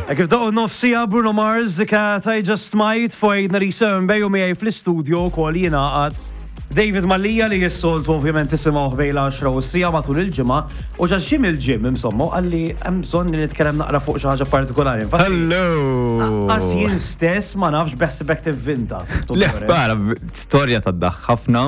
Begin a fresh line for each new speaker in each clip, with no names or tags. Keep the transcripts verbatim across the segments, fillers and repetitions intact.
Kif daqqu nofs siegħa, Bruno Mars, "Cat I Just Might" fuq eight ninety-seven Bay u miegħi fl-istudio wkoll jingħaqad David Mallia li jissoltu ovvjament tisimgħu bejn l-għaxra u s-siegħa matul il-ġimgħa u ġaxxim il-gym, insomma, qalli hemm bżonn li nitkellem naqra fuq xi ħaġa partikolari. Infatti,
Hello!
Qas jien stess ma nafx, beħsibek tivvinta.
Le, para, storja ta' ħafna.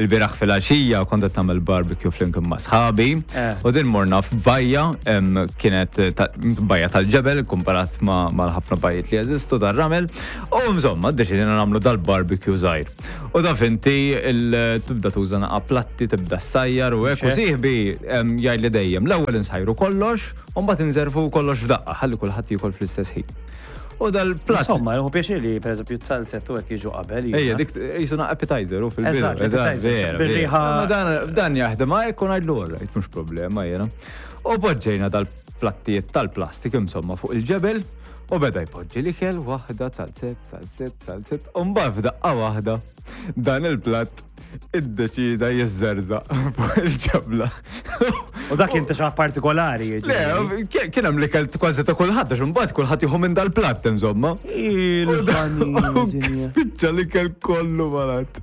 Il-bieraħ fil-għaxija kont qed nagħmel barbecue flimkien ma' sħabi.
Eh.
U din morna f'bajja, em, kienet ta- bajja tal-ġebel komparat ma' mal-ħafna bajjiet li jeżistu dar-ramel. U insomma, ddeċidejna nagħmlu dal-barbecue żgħir. U taf inti il- tibda tuża naqa platti, tibda ssajjar u hekk. U
Xek.
sieħbi em, jgħidli dejjem, l-ewwel insajru kollox, u mbagħad inservu kollox f'daqqa, ħalli kulħadd jiekol fl-istess ħin. U dal-platt
Insomma, jieħu pjaċir li per eżempju t-salzet u hekk jiġu qabel.
Ejja, dik jisuna appetizer u fil-bidu.
Eżatt, appetizer,
vera,
bir-riħa-
vera. Ma dan, dan jaħdem, ma jkun għajdlu alright, mhux problema jena. U poġġejna dal-plattijiet tal-plastik insomma fuq il-ġebel u beda jpoġġi l-ikel waħda, zalzett, zalzett, zalzett, u mbagħad f'daqqa waħda dan il-platt iddeċida jiżżerżaq fuq il-ġebla.
U dak kien ta' xi partikolari,
Le,
jiġifieri.
kien kien hemm l-ikel kważi ta' kulħadd, għax imbagħad kulħadd jieħu minn dal-platt insomma. U dan- u
Il-ħanini.
spiċċa l-ikel kollu malat.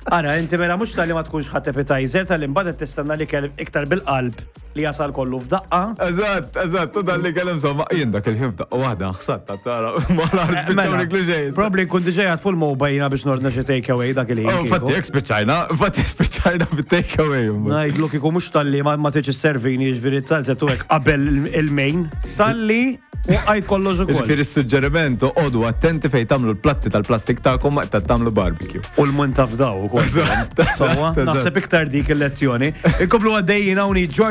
Ara, inti mela mhux tal-li ma tkunx ħadd appetizer, tal-li mbagħad qed tistenna li kell iktar bil-qalb li jasal kollu f'daqqa.
Eżatt, eżatt, u dan li kellem insomma, jien dak il-ħin f'daqqa waħda ħsatta tara, ma l spiċċaw niklu xejn.
Probably nkun diġà qiegħed fuq il-mobile jiena biex nordna xi take away dak il-ħin.
Oh,
kieku.
fatti, jek spiċċajna, fatti spiċċajna bit-take away.
Ngħidlu kieku mhux tal-li ma ma tiġi servini, jiġifieri zalzett u hekk qabel il-main, tal-li u għajt kollox ukoll.
Ġifieri s-suġġeriment, oqogħdu attenti fejn tagħmlu l-platti tal-plastik tagħkom meta tagħmlu barbecue.
U l-mun tafdaw ukoll.
Eżatt,
Sewwa,
eżatt.
naħseb iktar dik il-lezzjoni. Inkomplu għaddejjin hawn George.